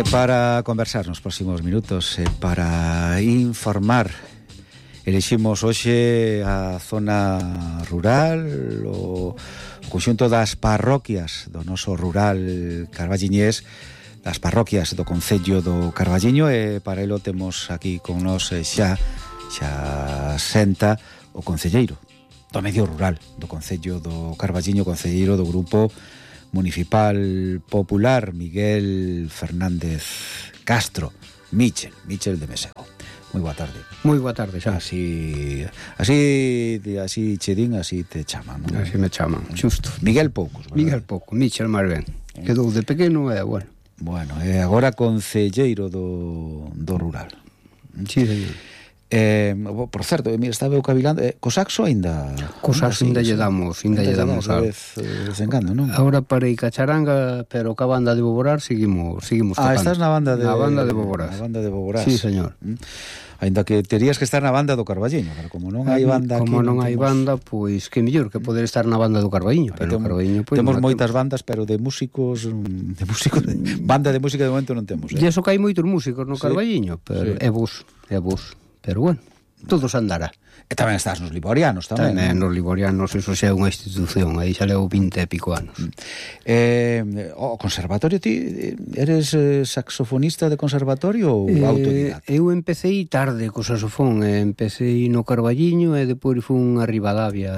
Para conversar nos próximos minutos, para informar, eliximos hoxe a zona rural, o conxunto das parroquias do noso rural carballiñés, das parroquias do concello do Carballiño, e para elo temos aquí con nos xa senta o concelleiro do medio rural do concello do Carballiño, concelleiro do grupo municipal popular, Miguel Fernández Castro, Michel de Mesego. Moi boa tarde. Moi boa tarde, xa. Así chedín, así te chaman, non? Así me chaman, xusto. Miguel poucos, verdad? Miguel pouco, Michel máis ben. Quedou de pequeno e bueno. Bueno, e agora concelleiro do rural. Sí, señor. Por certo, mira, estaba eu cavilando, co saxo ainda... Co saxo ainda lle damos algo. Desencando, non? Agora parei ca charanga, pero ca banda de Boborar seguimos tocando. Estás na banda de... Na banda de Boborar. Na banda de Boborar. Sí, señor. Ainda que terías que estar na banda do Carballiño, pero como non hai banda aquí... Como non hai banda, pois que mellor que poder estar na banda do Carballiño, pero Carballiño... Temos moitas bandas, pero de músicos... Banda de música de momento non temos, E iso que hai moitos músicos no Carballiño, pero é vos. Pero bueno, todo se andará. E tamén estás nos Liborianos tamén. Tamén nos Liborianos, eso xa é unha institución, aí xa leo 20 e pico anos. O conservatorio, ti eres saxofonista de conservatorio ou autodidacta? Eu empecéi tarde co saxofón, empecéi no Carballiño e depois fun a Ribadavia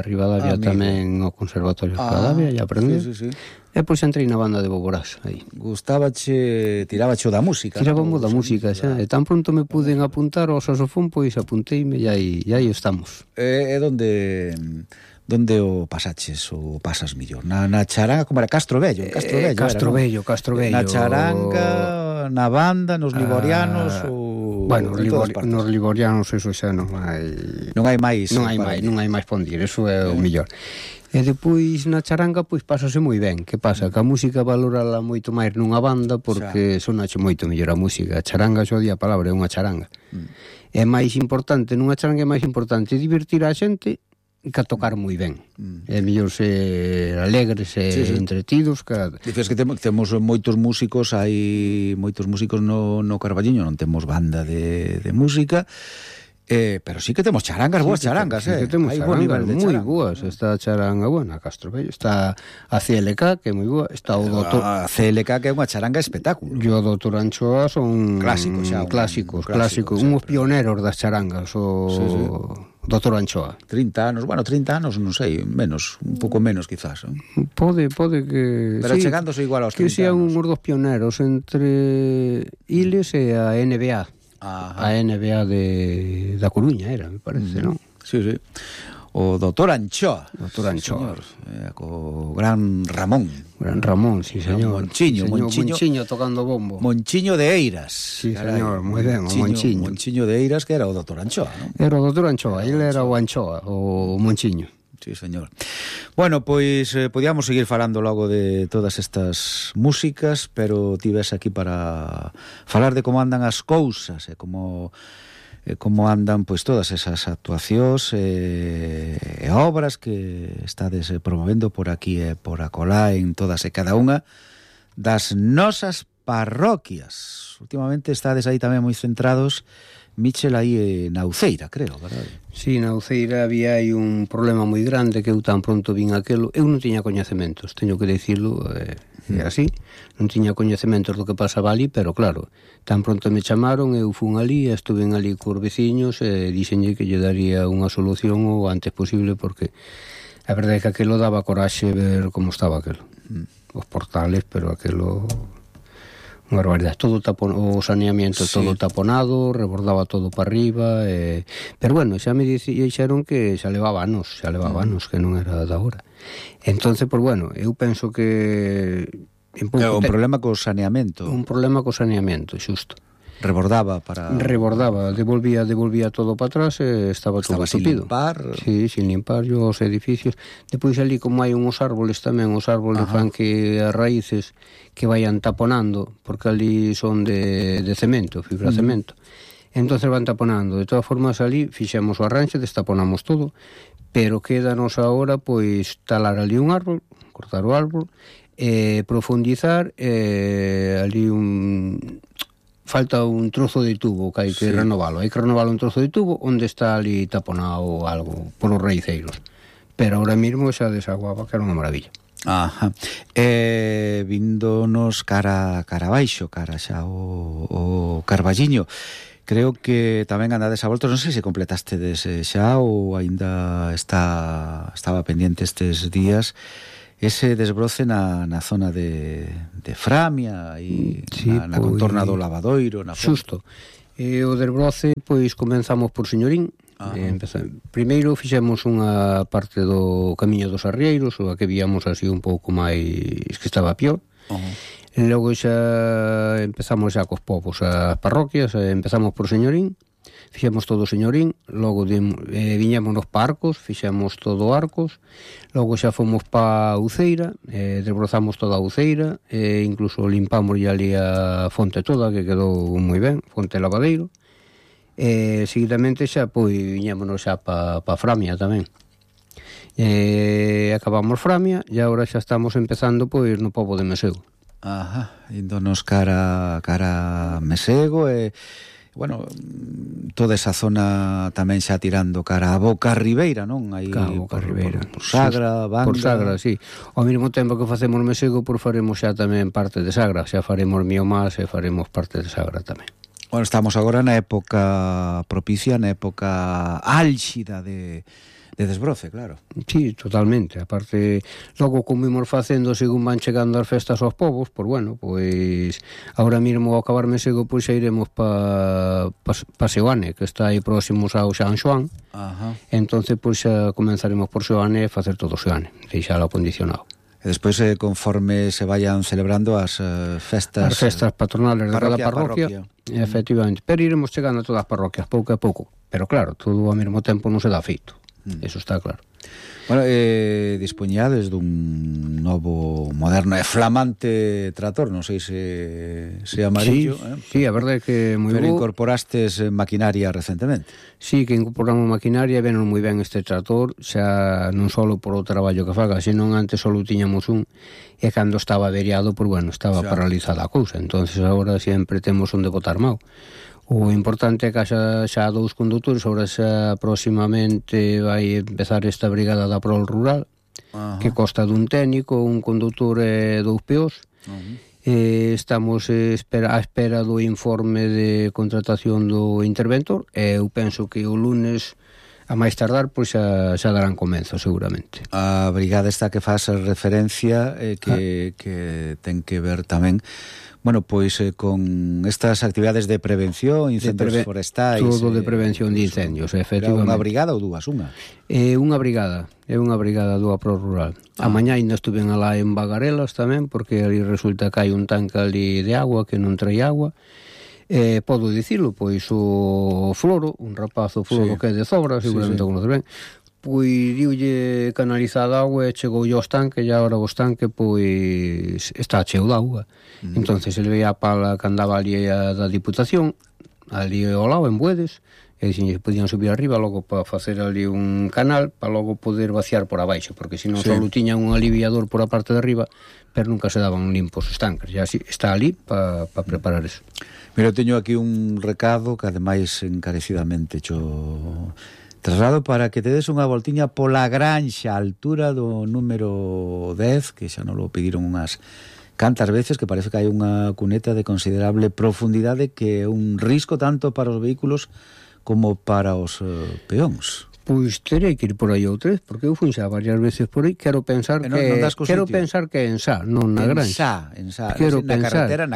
tamén ao conservatorio de Ribadavia e aprendí. Sí. E pois entrei na banda de Boborás aí. Tirábache da música. Tirábamos da música xa, e tan pronto me puden apuntar ao saxofón, pois apunteime e aí estamos. E donde o pasaches ou pasas millor? Na charanga, como era Castro Vello? Castro Vello. Na charanga, na banda, nos Liborianos ou... Bueno, nos Liborianos eso xa non hai... Non hai máis pondir, eso é o mellor. E depois na charanga pois pásase moi ben. Que pasa? Que a música valorala moito máis nunha banda porque sonache moito mellor a música. A charanga xo di a palabra, é unha charanga. É máis importante, nunha charanga é máis importante divertir a xente que a tocar moi ben. É mellor ser alegres e entretidos que... Dices que temos moitos músicos, hai moitos músicos no Carballiño, non temos banda de música, pero sí que temos charangas, boas charangas, sí que temos charangas moi boas. Está a charanga, a Castro Vello, está a CLK, que é moi boa, está o doutor... A CLK, que é unha charanga espectáculo. E o doutor Anchoa son clásicos, unhos pioneros das charangas, o doutor Anchoa. 30 anos, non sei, menos, un pouco menos quizás. Pode que... Pero chegándose igual aos 30 anos. Que sean unhos dos pioneros entre Iles e a NBA. A NBA da Coruña era, me parece, non? Sí. O doutor Anchoa. Señor. Co gran Ramón. Sí, señor. Monchiño tocando bombo. Monchiño de Eiras. Sí, señor, moi ben, o Monchiño. Monchiño de Eiras, que era o doutor Anchoa, non? Era o doutor Anchoa, ele era o Anchoa, o Monchiño. Sí, señor. Bueno, pois podíamos seguir falando logo de todas estas músicas, pero ti ves aquí para falar de como andan as cousas e como andan pois todas esas actuacións e obras que estades promovendo por aquí e por acolá en todas e cada unha das nosas parroquias. Últimamente estades aí tamén moi centrados, Michel, aí na Uceira, creo, verdade? Sí, na Uceira había aí un problema moi grande que eu tan pronto vin aquelo. Eu non tiña coñecementos, teño que dicirlo, é así. Non tiña coñecementos do que pasaba ali, pero claro, tan pronto me chamaron, eu fun ali, estuven ali cos veciños e dixenlle que lle daría unha solución o antes posible, porque a verdade é que aquelo daba coraxe ver como estaba aquelo. Os portales, pero aquelo... unha barbaridade, todo o saneamiento todo taponado, rebordaba todo para arriba, pero bueno, xa me dixeron que xa levaba anos, que non era da hora. Entonces, pues bueno, eu penso que un problema co saneamento. Un problema co saneamento, xusto. Rebordaba, devolvía todo para atrás e estaba todo tupido. Sin limpar os edificios. Depois ali, como hai uns árboles tamén, os árboles fan que as raíces que vayan taponando, porque ali son de cemento, fibra cemento. Entonces van taponando. De todas formas, ali fixemos o arranxe, destaponamos todo, pero quédanos agora, pois, talar ali un árbol, cortar o árbol, profundizar ali falta un trozo de tubo que hai que renovalo. Hai que renovalo un trozo de tubo onde está ali taponado algo polos raiceiros. Pero ahora mismo xa desaguaba, que era unha maravilla. Ajá. Víndonos cara baixo, cara xa o Carballiño. Creo que tamén andades a voltos, non sei se completaste xa ou aínda estaba pendiente estes días ese desbroce na zona de Framia e na contorna do Lavadoiro, na xusto. O desbroce, pois, comenzamos por Señorín. Primeiro fixemos unha parte do Camiño dos Arrieiros, o a que víamos así un pouco máis que estaba peor. E logo xa empezamos xa cos povos, as parroquias, empezamos por Señorín, fixemos todo Señorín, logo viñámonos pa Arcos, fixemos todo Arcos, logo xa fomos pa Uceira, desbrozamos toda a Uceira, incluso limpamos ali a fonte toda, que quedou moi ben, fonte Lavadeiro, seguidamente xa pois viñámonos xa pa Framia tamén. Acabamos Framia e agora xa estamos empezando pois no pobo de Mesego. Índonos cara Mesego e bueno, toda esa zona tamén xa tirando cara a Boca Ribeira, non? Aí Boca Ribeira. Por Sagra, Banda. Por Sagra, sí. Ao mesmo tempo que facemos Mesego, por faremos xa tamén parte de Sagra. Xa faremos Miomás e faremos parte de Sagra tamén. Bueno, estamos agora na época propicia, na época álxida de desbroce, claro. Sí, totalmente. Aparte, logo como imos facendo según van chegando as festas aos povos, pois bueno, pois agora mesmo ao acabar Mesego pois xa iremos pa Seoane, que está aí próximos ao San Xoán. Entonces pois xa comenzaremos por Seoane e facer todo Seoane, deixalo acondicionado. E despois, conforme se vayan celebrando as festas patronales de cada parroquia, efectivamente, pero iremos chegando a todas as parroquias pouco a pouco, pero claro, todo ao mesmo tempo non se dá feito. Eso está claro. Bueno, dispoñades dun novo, moderno e flamante trator, non sei se amarillo. Sí, a verdade é que moi pero bo. Incorporastes maquinaria recentemente. Sí, que incorporamos maquinaria, venos moi ben este trator, xa non só por o traballo que faga, senón antes só tiñamos un, e cando estaba averiado, pois bueno, estaba paralizada a cousa, entonces agora sempre temos onde botar mao. O importante é que xa dous condutores, agora xa próximamente vai empezar esta brigada da Prol Rural, que consta dun técnico, un condutor e dous peós. Estamos a espera do informe de contratación do interventor, e eu penso que o lunes, a máis tardar, pois xa darán comenzo, seguramente. A brigada esta que faz referencia, que ten que ver tamén, bueno, pois con estas actividades de prevención, incendios forestais. Todo de prevención de incendios, efectivamente. Unha brigada ou dúas? Unha brigada do Apro Rural. A mañá ainda estuven alá en Bagarelas tamén, porque ali resulta que hai un tanque ali de agua que non trae agua. Podo dicilo, pois o Floro, un rapazo Floro que é de Zobra, seguramente o conoce ben, pois diulle canalizada agua e chegou aos tanques, e agora o estanque pois está cheo de agua. Entonces ele veía a pala que andaba ali da Diputación, ali ao lado en Buedes, e dixen que podían subir arriba logo para facer ali un canal para logo poder vaciar por abaixo, porque senón só tiñan un aliviador por a parte de arriba, pero nunca se daban limpos os tanques, e así está ali para preparar eso. Mira, teño aquí un recado que ademais encarecidamente traslado para que te des unha voltiña pola granxa, a altura do número 10, que xa non lo pediron unhas cantas veces, que parece que hai unha cuneta de considerable profundidade, que é un risco tanto para os vehículos como para os peóns. Pois terei que ir por aí outra vez, porque eu fui xa varias veces por aí, quero pensar que é en Sá, non na granxa. En Sá, na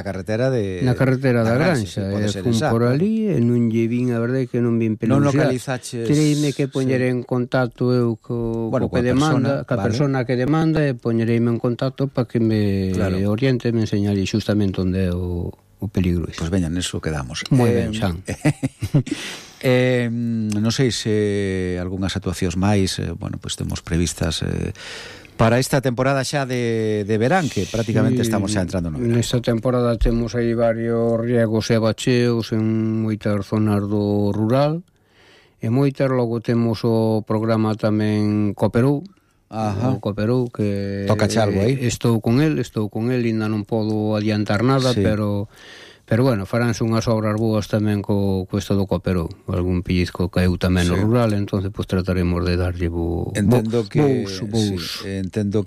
carretera da granxa, fun por ali e non lle vin, a verdade que non vin peluxar. Non localizaches. Tereime que poñer en contacto eu co que demanda, ca persona que demanda, e poñereime en contacto para que me oriente, me enseñale xustamente onde é o peligro. Pois veña, neso quedamos. Moi ben, Xan. Non sei se algunhas actuacións máis, bueno, pois temos previstas para esta temporada xa de verán, que prácticamente estamos xa entrando no verán. Nesta temporada temos aí varios riegos e bacheos en moitas zonas do rural, e moitas, logo temos o programa tamén Cooperou, o Cooperou, que toca algo aí. Estou con el, ainda non podo adiantar nada, pero Pero bueno, faránse unhas obras boas tamén co isto do Cooperou. Algún pellizco caeu tamén no rural, entonces pues trataremos de darlle entendo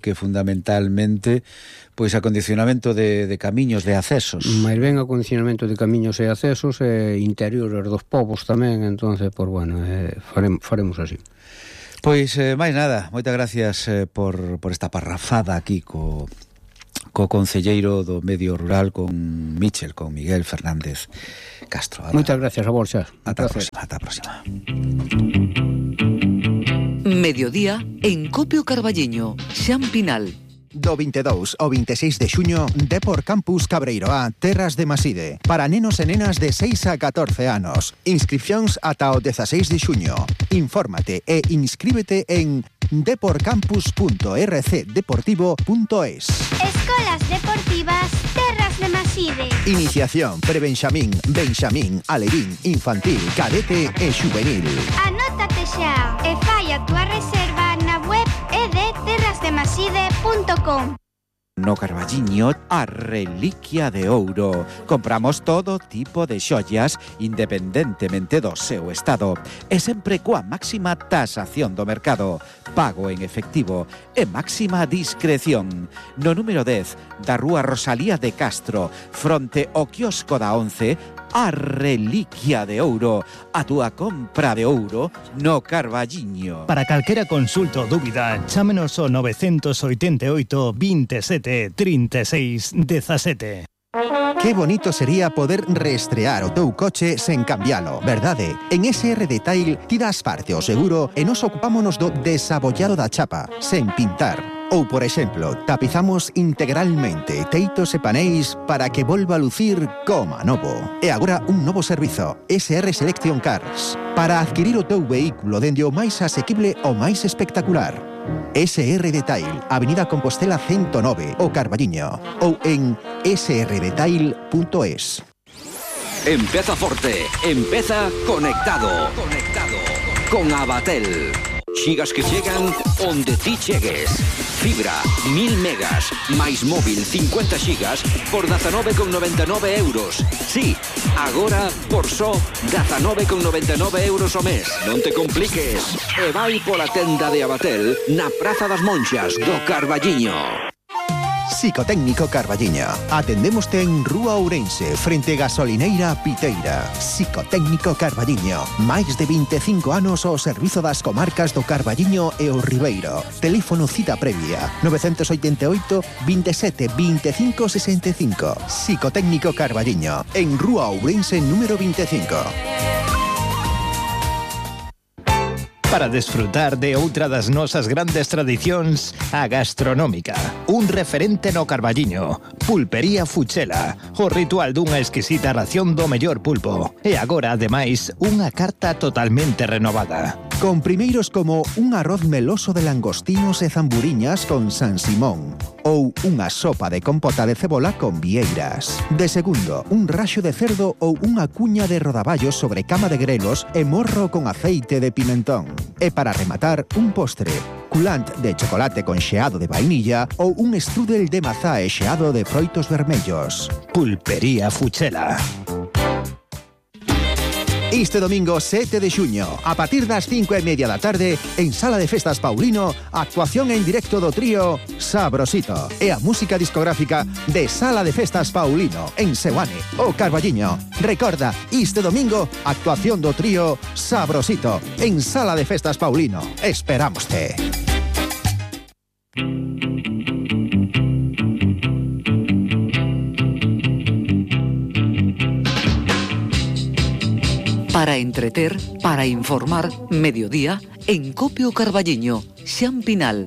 que fundamentalmente pois acondicionamento de camiños, de accesos. Mais ben acondicionamento de camiños e accesos e interiores dos povos tamén, entonces pues bueno, faremos así. Pois máis nada, moitas gracias por esta parrafada aquí co concelleiro do medio rural, con Michel, con Miguel Fernández Castro. Moitas gracias a vos, xa. Ata a próxima. Mediodía en Copio Carballiño, Xan Pinal. Do 22 ao 26 de xuño, Depor Campus Cabreiroá, Terras de Maside, para nenos e nenas de 6 a 14 anos. Inscripcións ata o 16 de xuño. Infórmate e inscríbete en deporcampus.rcdeportivo.es. Escolas Deportivas Terras de Maside. Iniciación prebenxamín, benxamín, alevín, infantil, cadete e xuvenil. Anótate xa e fai a túa reserva na web edterrasdemaside.com. No Carballiño, a reliquia de ouro. Compramos todo tipo de xollas independentemente do seu estado e sempre coa máxima tasación do mercado, pago en efectivo e máxima discreción. No número 10 da rúa Rosalía de Castro, fronte ao quiosco da 11, a reliquia de ouro, a túa compra de ouro no Carballiño. Para calquera consulta ou dúbida, chámenos ao 988 27 36 17. Que bonito sería poder reestrear o teu coche sen cambialo, verdade? En SR Detail ti das parte ao seguro e nos ocupámonos do desabollado da chapa, sen pintar. Ou, por exemplo, tapizamos integralmente teitos e paneis para que volva a lucir como novo. E agora un novo servizo, SR Selection Cars, para adquirir o teu vehículo dende o máis asequible ao máis espectacular. SR Detail, Avenida Compostela 109, o Carballiño, ou en srdetail.es. Empeza forte, empeza conectado. Con Abatel. Xigas que chegan onde ti chegues. Fibra, 1000 megas, máis móvil 50 xigas por 19,99 euros. Sí, agora por só 19,99 euros ao mes. Non te compliques. E vai pola tenda de Abatel na Praza das Monxas do Carballiño. Psicotécnico Carballiño. Atendémoste en Rúa Ourense, frente Gasolineira Piteira. Psicotécnico Carballiño. Máis de 25 anos ao servizo das comarcas do Carballiño e o Ribeiro. Teléfono cita previa 988 27 25 65. Psicotécnico Carballiño. En Rúa Ourense número 25. Para desfrutar de outra das nosas grandes tradicións, a gastronómica. Un referente no Carballiño. Pulpería Fuchela. O ritual dunha exquisita ración do mellor pulpo. E agora, ademais, unha carta totalmente renovada. Con primeiros como un arroz meloso de langostinos e zamburiñas con San Simón. Ou unha sopa de compota de cebola con vieiras. De segundo, un raxo de cerdo ou unha cuña de rodaballos sobre cama de grelos e morro con aceite de pimentón. E para rematar, un postre, culant de chocolate con xeado de vainilla ou un strudel de mazá e xeado de froitos vermellos. Pulpería Fuchela. Este domingo 7 de xuño, a partir das 5:30 da tarde, en Sala de Festas Paulino, actuación en directo do trío Sabrosito e a música discográfica de Sala de Festas Paulino, en Seoane, o Carballiño. Recorda, este domingo, actuación do trío Sabrosito, en Sala de Festas Paulino. Esperámoste. Para entreter, para informar, mediodía, en Copio Carballiño, Xan Pinal.